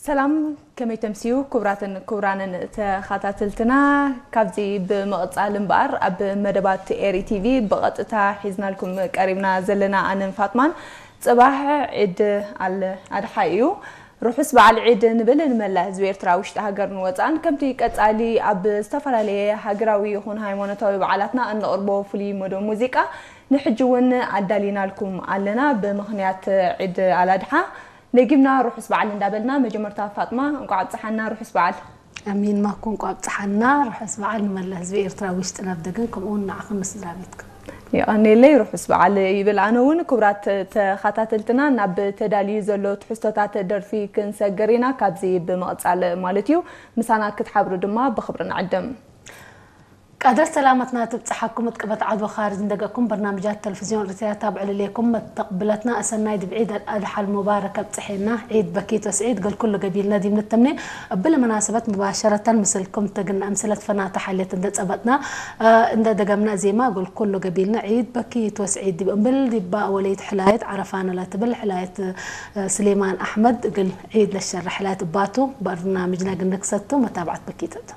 ሰላም፣ ከመይ ተምስዩ ክቡራትን ክቡራንን ተኸታተልትና። ካብዚ ብምቕጻል እምበኣር ኣብ መደባት ኤሪ ቲቪ ብቐጥታ ሒዝናልኩም ቀሪብና ዘለና ኣነን ፋጥማን፣ ጽባሕ ዒድ ኣል ኣድሓ እዩ። ርሑስ በዓል ዒድ ንብል ንመላእ ህዝቢ ኤርትራ ውሽጢ ሃገርን ወጻእን። ከምቲ ቀጻሊ ኣብ ዝተፈላለየ ሃገራዊ ይኹን ሃይማኖታዊ በዓላትና እንቕርቦ ፍሉይ መደብ ሙዚቃ ንሕጂ እውን ኣዳሊናልኩም ኣለና። ብምኽንያት ዒድ ኣል ኣድሓ ነጊምና ርሑስ በዓል እንዳበልና፣ መጀመርታ ፋጥማ እንቋዕ ኣብጽሓና፣ ርሑስ በዓል። ኣሚን። ማኩ እንቋዕ ኣብጽሓና፣ ርሑስ በዓል ንመላእ ህዝቢ ኤርትራ ውሽጥን ኣብ ደገን፣ ከምኡ እውን ንዓኽን ንስድራ ቤትክን። የቐንየለይ፣ ርሑስ በዓል ይብል ኣነ እውን። ክቡራት ተኸታተልትና፣ ናብ ተዳልዩ ዘሎ ትሕዝቶታት ደርፊ ክንሰግር ኢና፣ ካብዚ ብምቕጻል ማለት እዩ። ምሳና ክትሓብሩ ድማ ብኽብሪ ንዕድም። ቀደር ሰላመትና ትብጽሓኩም። እጥቅበት ዓድዋ ኻርጅ እንደገኩም በርናምጃት ተለፍዝዮን ርትያት ኣብ ዕልሌኩም መተቕብለትና ኣሰናይ ድብዒ ደል ኣድሓል ሙባረክ ኣብጽሐና። ዒድ በኪት ወስዒድ ገል ኩሉ ገቢልና ዲብ ንተምኔ። እብል መናሰበት ሙባሸረተን ምስልኩም ተግና እምስለት ፈናታ ሓልየት እንደ ጸበጥና፣ እ፣ እንደ ደገምና ዜማ ገል ኩሉ ገቢልና ዒድ በኪት ወስዒድ ዲብ እምብል ዲባ ወለይት ሕላየት ዓረፋና ለትብል ሕላየት፣ እ፣ ስሌማን ኣሕመድ እግል ዒድ ለሸረ ሕላየት እባቱ በርናምጅና ግንክሰቱ መታብዓት በኪተት።